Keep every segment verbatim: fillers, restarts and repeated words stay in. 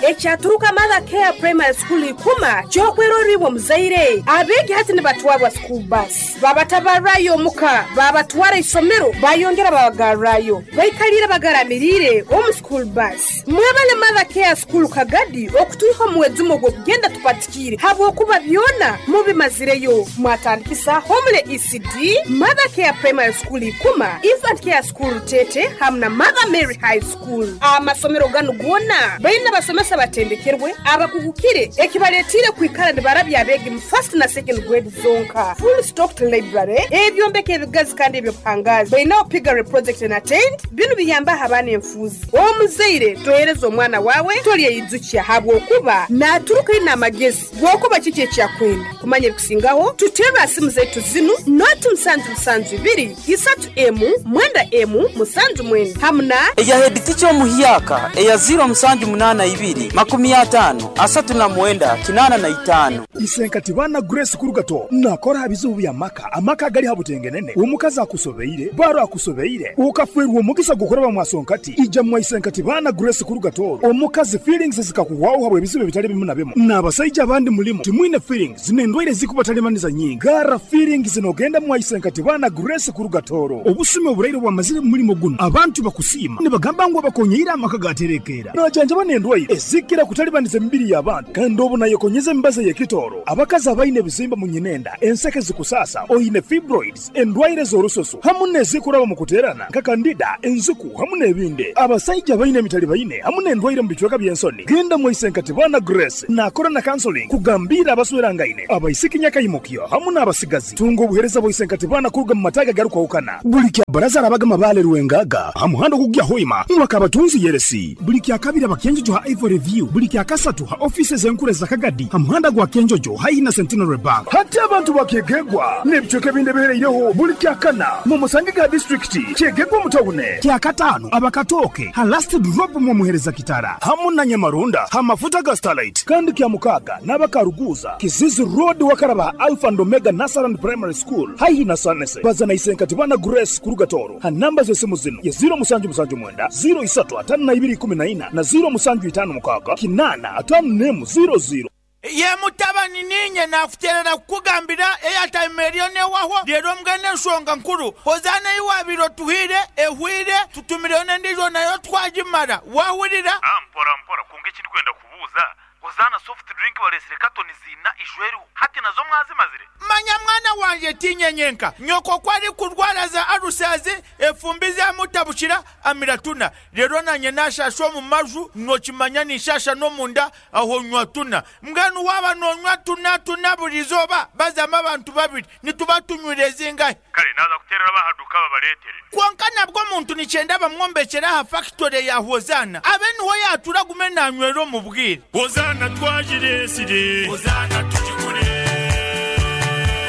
Ekyaturuka Mother Care Primary School ikuma kyokweroribwa muzaire abegi hati nibatwarwa school bus babatabarayo muka babatwara isomero bayongera babagarrayo baikalira bagaramirire omu school bus. Mwebale Mother Care School Kagadi okutuiho muwezumo gw'okugenda tupatikire habwokuba byona mubimazireyo. Mwatandikisa Homele E C D, Mother Care Primary School ikuma, Infant Care School Tete hamwe na Mother Mary High School. Amasomero ganu gona baina basomesa batendekerwe abakugukire ekibaletire kwikara nibarabya abegi mu first na second grade zonka. Full stocked library ebyombeko ebigazi kandi ebyobuhangazi baina piggery project and attend binu biyamba abaana enfuzi. Omuzaire tohereza omwana wawe tolyeyizukia habwokuba naturuka ina amagezi gwokuba kiki ekyakwenda kumanya ebikusingaho. Tutera simu zetu zinu noti musanju musanju ibiri isatu emu mwenda emu musanju mwenda hamna eya head teacher omuhiyaka eya zero musanju munana ibiri makumi atano asatu na mwenda kinana na itano. Isenkati bana Grace Kurugato nakora bizubu bya maka amaka gali habutengenene omukazi akusobeire baro akusobeire ukafwerwa omugisa gukora bamwasonkati ija mwa Isenkati bana Grace Kurugato omukazi feelings zikakuwaho habwe bizubu bitali bimu na bimu n'abasajja abandi mulimo timwine feelings zinendwaire zikubatalimanisa nyingi gara feelings zinogenda mwa Isenkati bana Grace Kurugatoro obusime oburaire bwamazire mulimo guno abantu bakusima nibagamba ngo bakonyeira amaka gaterekera najanja banendwaire ezikira kutalibaniza emibiri y'abantu kandi obu nayekonyeza embaza y'ekitoro abakazi abaine ebizimba mu nyinenda enseke zikusasa oine fibroids endwaire z'orusoso hamu n'ezikuraba mu kuterana nka kandida enzuku hamu n'ebindi abasajja baine emitali baine hamu n'endwaire mu bicweka by'ensoni. Genda mu Isenkati bana Grace nakora na counseling kugambira abaswerangaine abaisiki nyakayimukyo hamu n'abasigazi tunga obuhereza bwa Isenkati bana kuruga mu mataga garukwahukana buli kya baraza arabaga mabale rwengaga hamuhando kugya hoima mwakabatunzi yeresi buli kya kabiri abakenjojo ha Ivory View buli kya kasatu ha offices enkure za Kagadi hamuhanda gwa Kenjojo haina Centenary Bank hati abantu bakegegwa n'ebicweka binde bihereireho buli kya kana mu musange ga district kyegegwa mutawune kya katano abakatoke ha last drop mu muhereza kitara hamu na Nyamarunda ha mafuta ga Starlight kandi kya mukaga n'abakaruguza Kizizi Road wakaraba Alpha and Omega Nasaran Primary School haihi na Sanese bazana Isenkati bana Grace Kurugatoro ha namba z'esimu zino ya zero musanju musanju mwenda zero isatu atano na ibiri kumi na ina na zero musanju itano mukaga kinana atano nemu zero zero. Ye mutabani ninye nakuterera kukugambira eyatime eriyo newaho rero mbwene ensonga nkuru hozana iwabiro tuhire ehwire tutumireyo n'endijo nayo twagimara wahurira. Ah, mpora mpora kunga ekindi kwenda kubuuza hozana soft drink balesire katoni zina ishweru hati nazo mwazimazire. Manya mwana wanje tinyenyenka nyoko kwari kurwara za arusazi efumbi zamutabukira amiratuna rero nanye nashasha mu maju nokimanya nishasha no munda aho nywa tuna mbwenu waba nonywa tuna tuna burizoba bazama abantu babiri nituba tunywire zingahe. Kale naza kuterera bahaduka babaletere konka nabwo muntu nicyenda bamwombekera ha factory ya Hozana abe niho yatura gume nanywero mu bwire. Hozana twajiresire Hozana tujigure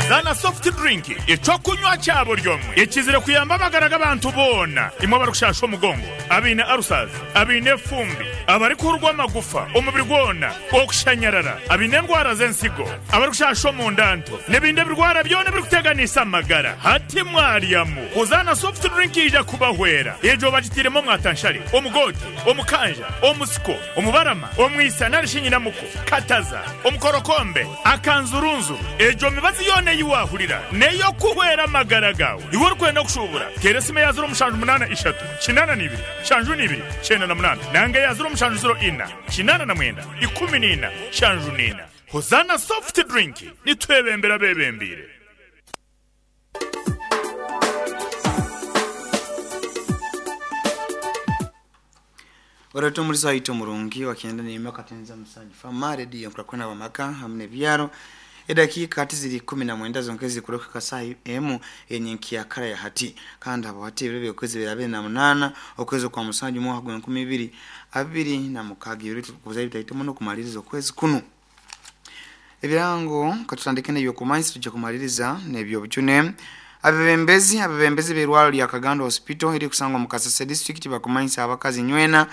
Zana soft drink ecokunywa cyabo ryomwe ekizire kuyamba amagara abantu bona imwe barukushasha omugongo abine arusaza abine fumbi abari kurwa amagufa omubiri gwona okushanyarara abine ndwara z'ensigo abari kushasha omundanto n'ebindi birwara byona birikuteganisa amagara hati mwaryamu. Hozana soft drink ija kubahwera ejo bagitiremo mwatanshari omugote omukanja omusiko omubarama omwisa narishinyinamuko kataza omukorokombe akanzurunzuru ejo mibazi yone yiwahurira neyo kuhwera amagara gawe iwe urikwenda kushubura teresime ya zero mushanju munana ishatu kinana nibiri shanju nibiri chenda na munana nange ya zero mushanju zero ina kinana na mwenda ikumi nina shanju nina. Hozana soft drink nitwebembera bebembire. Warato muri saito murungi wakienda ni mwaka tenza msanju fama redio mkakona wa maka hamne byaro edakika kati ziri kumi na mwenda zonkezi kuroka kasai emu yenye nkiakara ya hati kandi abo hati birebe okwezi birabe na munana okwezi kwa musanju mwaka gwa nkumi ibiri abiri na mukagi yuri kuzayi bitahitamo no kumaliriza okwezi kuno ebirango katutandike n'ebyo kumanyi tujja kumaliriza n'ebyo bujune. Abebembezi abebembezi b'erwalo lya Kagando Hospital eri kusangwa mu Kasese district bakumanyisa abakazi nywena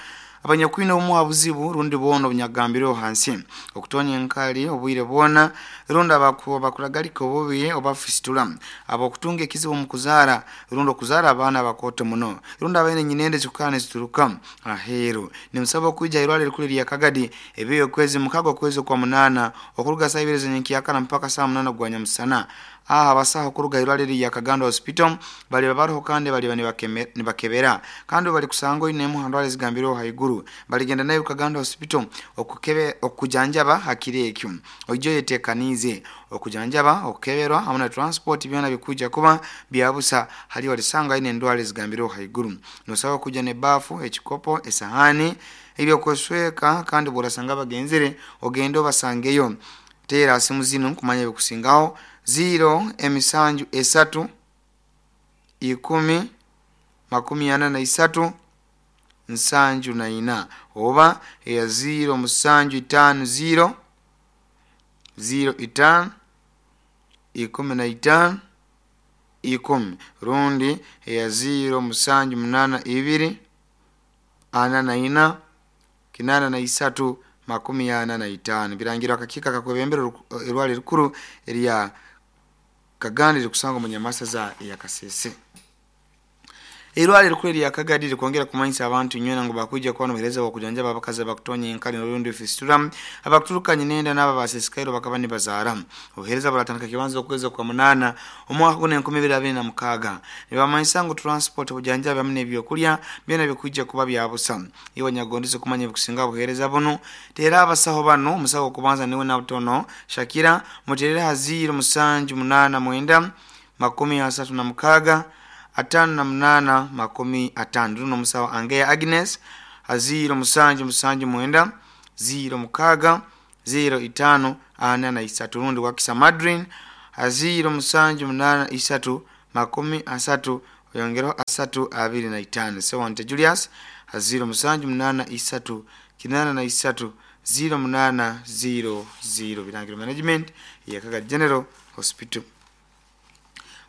Abanyakwine obumu buzibu rundi boona obunyagambireho hansi okutonya enkali obwire bwona rundi abakuragalika obubi oba fistula, abokutunga ekizibu mu kuzaara rundi okuzaara abaana abakooto muno rundi abaine nyinende zikukana zituruka aheeru. Nimusaba okwija irwaliro erikuru erya Kagadi ebiyo okwezi mukaga okwezi okwa munaana okuruga saa ibiri z'enyenkyakara mpaka saa munaana gwa nyamusana. Aha abasaho okuruga irwaliro erya Kaganda Hospital baliba baroho kandi baliba nibakebera kandi bali kusanga oinemu ha ndwara ezigambireho haiguru baligenda nayo Kaganda Hospital okukebe okujanjaba hakiri ekyo. Oijo yetekanize okujanjaba okukeberwa hamwe na transport byona bikuja kuba byabusa hali walisanga ine ndwara ezigambireho haiguru. Nosaba kuja ne bafu, ekikopo, esahani ebyokwesweka kandi borasanga bagenzere ogende obasangeyo. Tera simu zino kumanya bikusingaho zero emisanju esatu ikumi makumi ana na isatu nsanju na ina oba ya zero musanju itano zero zero itano ikumi na itano ikumi rundi ya zero musanju munana ibiri ana na ina kinana na isatu makumi ana na itano. Birangirwa akakika kakwebembera erwali rikuru erya Kaganda rikusanga mu Nyamasaza ya Kasese. Irwaliro rikuru erya Kagadi rikwongera kumanyisa abantu nywena ngo bakuja kuba nobuhereza bw'okujanjaba abakazi abakutonya enkali n'orundi fistula abakuturukanye nenda n'aba basesikairo bakaba nibazaara. Obuhereza buratandika kibanza okwezi kwa munana omwaka guno enkumi ibiri abiri na mukaaga. Nibamanyisa ngu transport obujanjabi hamwe n'ebyokurya byona bikuja kuba byabusa. Iwe nyagondeze kumanya ebikusinga obuhereza buno tera abasaho bano. Omusaho okubanza niwe Nabutono Shakira muterere ha ziro musanju munana mwenda makumi asatu na mukaaga atano na munana makumi atano. Runo musawo Angeya Agnes aziro musanju musanju mwenda ziro mukaga ziro itano ana na isatu. Rundi wakisa Madrin aziro musanju munana isatu makumi asatu oyongero asatu abiri na itano. Sewante Julius aziro musanju munana isatu kinana na isatu ziro munana ziro ziro. Birangiro management ya Kagadi General Hospital.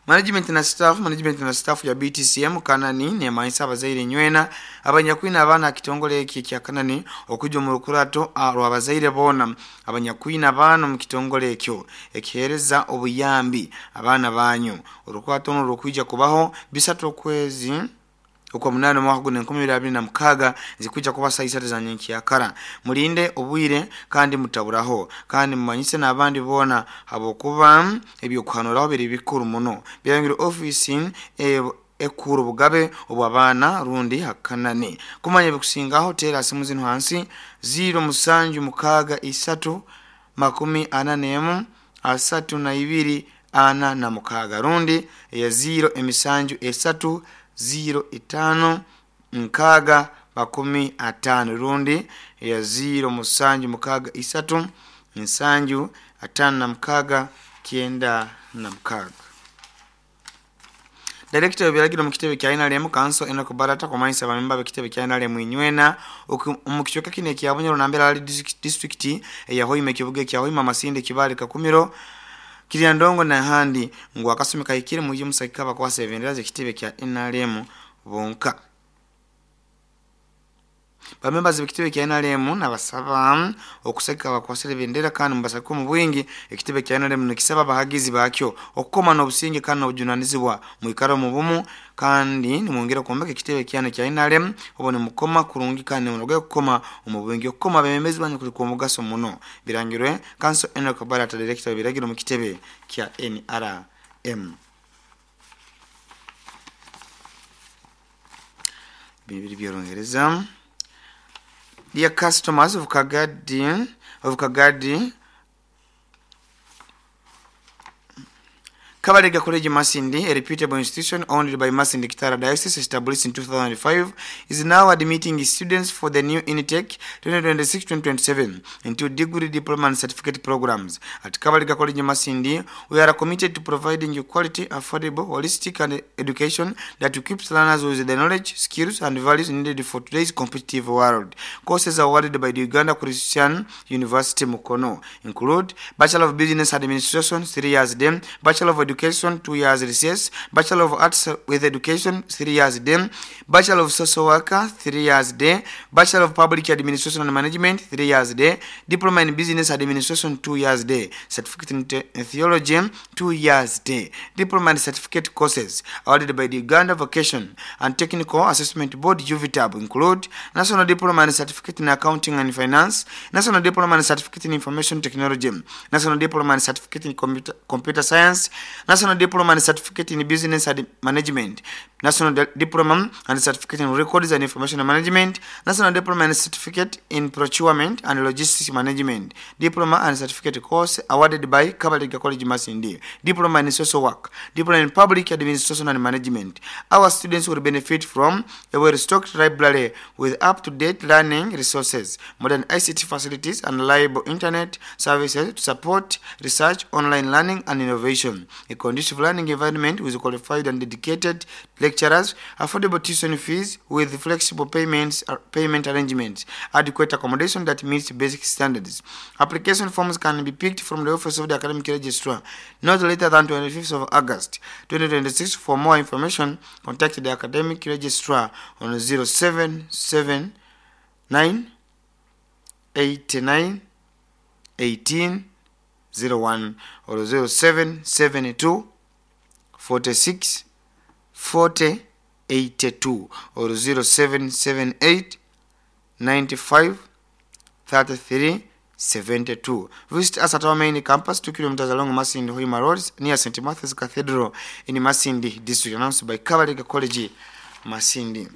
Management na staff management na staff ya B T C M Kanani ne maisa abazaire nywena abanyakwina abaana kitongole eki kya Kanani okuja mu rukurato abazaire bona abanyakwina abaana mu kitongole ekyo ekihereza obuyambi abaana banyu. Orukurato no rukuija kubaho bisatu okwezi okwa munana mwaka guno enkumi ibiri abiri na mukaaga zikuja kuba saa isatu za nyenkyakara. Mulinde obwire kandi mutaburaho kandi mumanyise n'abandi bona habokuba ebyokuhanuraho biri bikuru muno. Birangiro office e ekuru bugabe obw'abaana rundi hakanani. Kumanya bikusingaho tera simu zino hansi ziro musanju mukaaga isatu makumi ana n'emu asatu na ibiri ana na mukaaga rundi ya ziro emisanju esatu ziro itano nkaga makumi atano rundi ya ziro musanju mukaga isatu nsanju atano na mukaga kienda na mukaga. Director w'ebiragiro mu kitebe kya N R M Council Enoch Barata kumanyisa abamemba b'ekitebe kya N R M inywena mu kichweka kino ekya Bunyoro nambera ali district eya Hoima ekibuga ekya Hoima Masindi Kibale Kakumiro Kiryandongo na handi ngu akasumi kahikire muje musakika bakwasa ebendera z'ekitebe kya N R M bonka. Bamemba z'ekitebe kya N R M nabasaba okusakika bakwasa ebendera kandi mubasakike mu bwingi. Ekitebe kya N R M nikisaba abahagizi bakyo okukoma n'obusinge kandi n'obujunanizibwa mwikara mu bumu kandi nimwongera kuombeka ekitebe kyano kya N R M obo nimukoma kurungi kandi nimunoge kukoma omu bwingi okukoma abemembezi banyu kuli kw'omugaso muno. Birangirwe Council Enoch Barata Director w'ebiragiro mu kitebe kya N R M. Bibiri by'Olungereza. Dear customers of Kagadi, of Kagadi, Kabalega College Masindi, a reputable institution owned by Masindi Kitara Diocese, established in two thousand five, is now admitting students for the new intake twenty twenty-six twenty twenty-seven into degree, diploma and certificate programs. At Kabalega College Masindi, we are committed to providing you quality, affordable, holistic and education that equips learners with the knowledge, skills and values needed for today's competitive world. Courses awarded by the Uganda Christian University Mukono include Bachelor of Business Administration, three years, then Bachelor of Education, two years recess, Bachelor of Arts with Education, three years day, Bachelor of Social Worker, three years day, Bachelor of Public Administration and Management, three years day, Diploma in Business Administration, two years day, Certificate in Te- Theology, two years day, Diploma and Certificate courses awarded by the Uganda Vocation and Technical Assessment Board, U V T A B, include National Diploma and Certificate in Accounting and Finance, National Diploma and Certificate in Information Technology, National Diploma and Certificate in Computer, Computer Science, National Diploma and Certificate in Business and Management, National Di- Diploma and Certificate in Records and Information Management, National Diploma and Certificate in Procurement and Logistics Management, Diploma and Certificate course awarded by Kabalega College Masindi, Diploma in Social Work, Diploma in Public Administration and Management. Our students will benefit from a well-stocked library with up-to-date learning resources, modern I C T facilities, and reliable internet services to support research, online learning, and innovation. A conducive learning environment with qualified and dedicated lecturers, affordable tuition fees with flexible payments, uh, payment arrangements, adequate accommodation that meets basic standards. Application forms can be picked from the office of the academic registrar not later than twenty-fifth of August twenty twenty-six. For more information, contact the academic registrar on zero seven seven nine eight nine eighteen zero one or zero seven seven two forty-six forty eighty-two or zero seven seven eight ninety-five thirty-three seventy-two. Visit us at our main campus, two kilometers along Masindi Hoima Road, near Saint Matthew's Cathedral in Masindi District. Announced by Kabalega College, Masindi.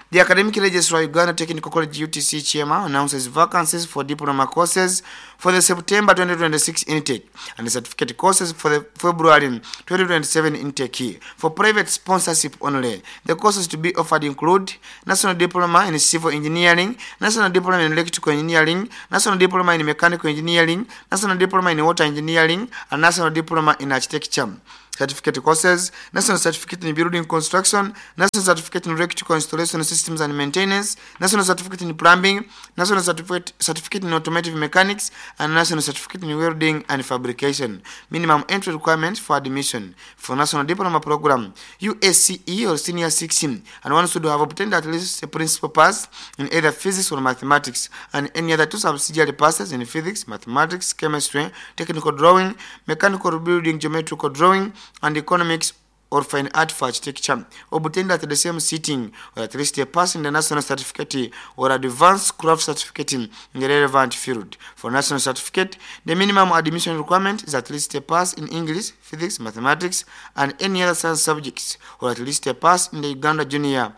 The Academic Registrar Uganda Technical College U T C Chairman announces vacancies for diploma courses for the September twenty twenty-six intake and the certificate courses for the February twenty twenty-seven intake. For private sponsorship only, the courses to be offered include National Diploma in Civil Engineering, National Diploma in Electrical Engineering, National Diploma in Mechanical Engineering, National Diploma in Water Engineering, and National Diploma in Architecture. Certificate courses, National Certificate in Building Construction, National Certificate in Electrical Installation Systems and Maintenance, National Certificate in Plumbing, National Certificate, Certificate in Automotive Mechanics, and National Certificate in Welding and Fabrication. Minimum entry requirements for admission for National Diploma Program, U S C E or Senior sixteen, and one should have obtained at least a principal pass in either physics or mathematics, and any other two subsidiary passes in physics, mathematics, chemistry, technical drawing, mechanical building, geometrical drawing, and economics or fine art for architecture, obtained at the same sitting, or at least a pass in the national certificate or advanced craft certificate in the relevant field. For national certificate, the minimum admission requirement is at least a pass in English, physics, mathematics, and any other science subjects, or at least a pass in the Uganda Junior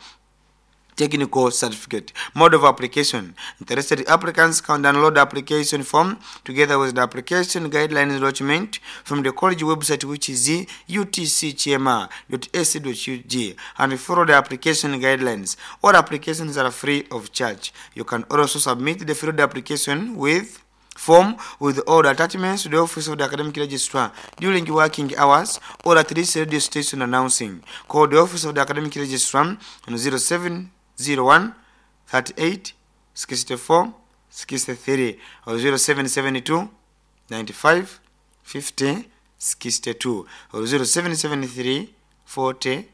Technical Certificate. Mode of application. Interested applicants can download the application form together with the application guidelines document from the college website, which is U T C chema dot A C dot U G, and follow the application guidelines. All applications are free of charge. You can also submit the filled application with form with all the attachments to the office of the academic registrar during working hours or at this radio station announcing. Call the office of the academic registrar on zero seven zero one thirty-eight sixty-four sixty-three or zero seven seven two ninety-five fifty sixty-two or zero seven seven three forty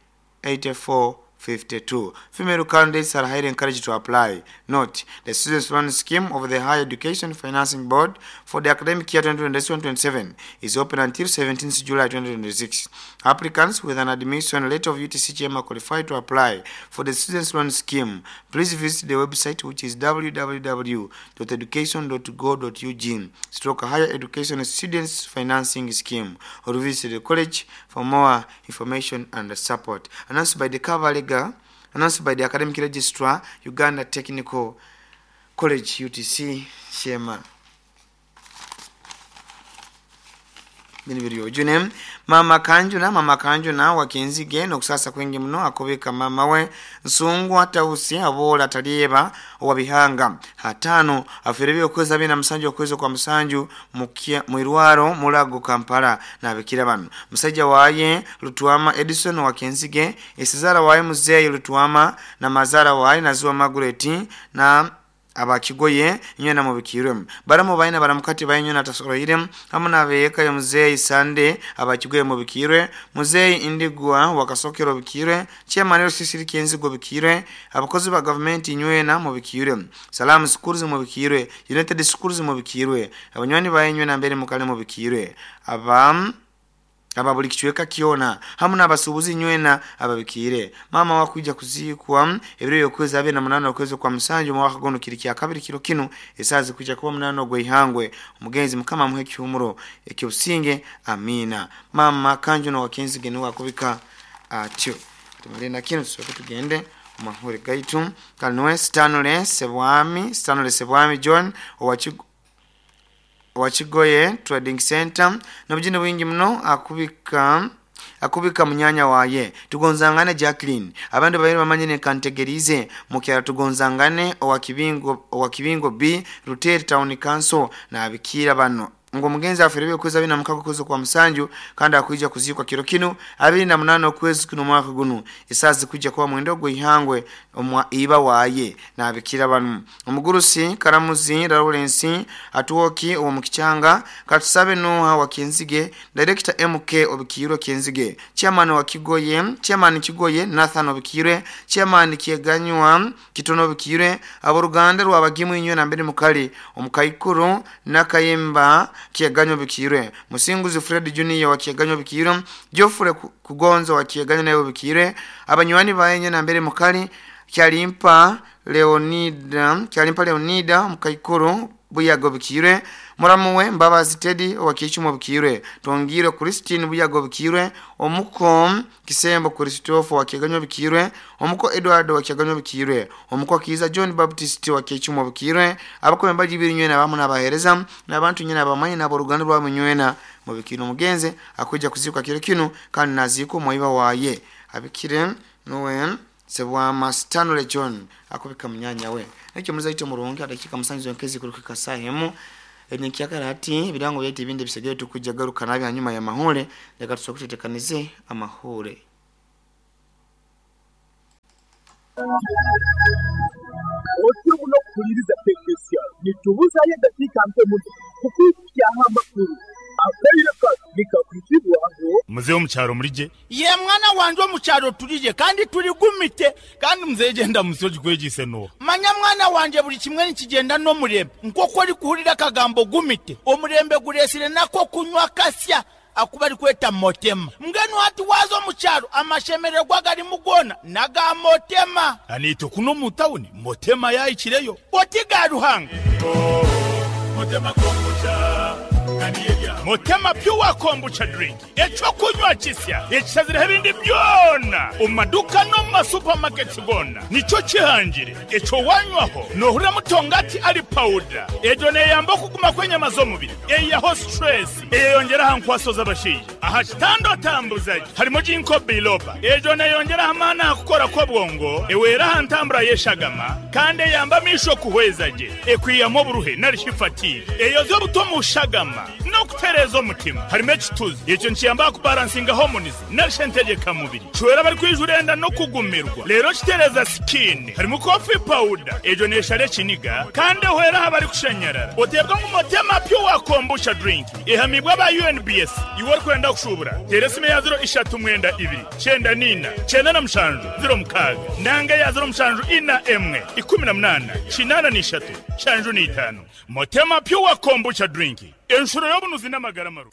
eighty-four fifty-two. Female candidates are highly encouraged to apply. Note, the Students' Loan Scheme of the Higher Education Financing Board for the academic year twenty twenty-six twenty-seven is open until seventeenth July twenty twenty-six. Applicants with an admission letter of U T C H M are qualified to apply for the Students' Loan Scheme. Please visit the website, which is w w w dot education dot go dot u g stroke Higher Education Students Financing Scheme, or visit the college for more information and support. Announced by the Kabalega Announced by the Academic Registrar, Uganda Technical College, U T C, Shema. Bino Mama Kanjuna, Mama Kanjuna wakinzige nokusasa kwingi muno akobeka mama we Nsungwa Tausi abola talieba wabihanga hatano aferebye okwezi abina musanju okwezi kwa musanju mukia mwirwaro Mulago Kampala na abikira bano musajja waye Lutuama Edison wakinzige esizara waye muzeyi Lutuama na mazara waye Naziwa Margaret na abakigoye nywena mubikirwe baramu baina baramukati bainyo natasoroire hamu nabeka ya muzei Sande abakigoye mubikirwe muzei Indigwa wakasokero bikirwe chairman sisiri kenzigo bikirwe abakozi ba government nywena mubikirwe Salamu Schools mubikirwe United Schools mubikirwe abanywani bainyo na mbere mukale mubikirwe abam aba buli kichweka kiona hamu n'abasubuzi nywena ababikire mama wakuja kuzikwa ebiro yokwezi abe na munano okwezi kwa musanju mwaka gono kiri kya kabiri kiro kino esazi kuja kuba munano gwe ihangwe omugenzi mukama muhe kihumuro ekyosinge amina mama kanjo no wakenzi genu wakubika atyo tumale na kino soke tugende mahure gaitu kanwe Stanley Sebwami Stanley Sebwami John owachigo Wachigoye Trading Center nobujine bwingi muno akubika akubika munyanya waye tugonzangane Jacqueline abandi bayiri bamanyine kantegerize mukyara tugonzangane owakibingo owakibingo B Ruteri Town Council na abikira bano ngo mugenzi afere kweza bina mukako kuzo kwa musanju kandi akuija kuzikwa kiro kino abiri na munano kwezi kuno mwaka guno isazi kuja kwa mwendogo ihangwe omwa iba waye na abikira banu omugurusi Karamuzi Lawrence atuoki owo mukichanga katusabe noha wa Kenzige director M K obikirwe Kenzige chairman wa Kigoye chairman Kigoye Nathan obikirwe chairman Kieganywa Kitono obikirwe aboruganda rwabagimu inywe na mbere mukali omukaikuru nakayemba Kieganyo bikirwe Musinguzi Fred Junior wa Kieganyo bikirwe Geoffrey Kugonzo wa Kieganyo nayo bikirwe abanywani bayenye na mbere mukali Kyalimpa Leonida Kyalimpa Leonida mukaikuru Buyago bikirwe muramuwe Mbabazi Teddy wa Kichumo bikirwe Tongire Christine Buyago bikirwe omuko Kisembo Christopher wa Kieganyo bikirwe omuko Edward wa Kieganyo bikirwe omuko Kiza John Baptist wa Kichumo bikirwe abakombe bibiri nywena bamu nabahereza nabantu nyina bamanyi nabo ruganda rwa munywena mu bikino mugenze akuja kuzikwa kiro kino kandi naziko moiba waye abikire nowe Sebwama Stanley John akubika munyanya we nakyo muzaito murungi adakika musanzu yankezi kurukika sahemu enyikyakara ati birango byete ibindi bisegere tukujja garuka nabi hanyuma ya mahule reka tusokutetekanize amahule Otimu no kuliriza teknisya nitubuza ye dakika mpe muno kukukia amakuru akaire nikakujibwaho muzeyo mucyaro murije ye mwana wanje omucyaro turije kandi turi gumite kandi muzeyo genda musoji kwegise no manya mwana wanje buri kimwe nikigenda no murembe nkoko uri kuhurira akagambo gumite omurembe guresire nako kunywa kasya akuba ari kweta motema mbwenu hati wazo mucyaro amashemererwa gari mugona naga motema anito kuno mu town motema yayikireyo oti garuhanga oh, motema kombucha Motema pure kombucha drink echo kunywa kisya ekisazira ebindi byona omaduka no ma supermarket gona nico kihangire echo wanywaho nohura mutongati ali powder ejo neyamba kuguma kwenyama z'omubiri eyaho stress eyongera hankwaso z'abashije aha kitando tambuzaji harimo jinko biloba ejo neyongera hamana kukora kwa bwongo ewera hantambura yeshagama kandi yamba misho kuhwezaje ekwiyamo buruhe narishifati eyo zo butomushagama no kutereza omutima harimo ekituzi ekyo nkiyamba kubalansinga hormones narishentegeka mubiri chwera bari kwijurenda no kugumirwa lero kitereza skin harimo coffee powder ejo neshare kiniga kandi hwera habari kushenyerera otebwa mu motema pure kombucha drink ihamibwa ba U N B S iwe kwenda kushubura teresime ya zero ishatu mwenda ibiri cyenda nina cyenda na mushanju zero mukaga nanga ya zero mushanju ina emwe ikumi na munana kinana n'ishatu shanju n'itanu motema pure kombucha drink enshuro y'obunuzi n'amagara maru.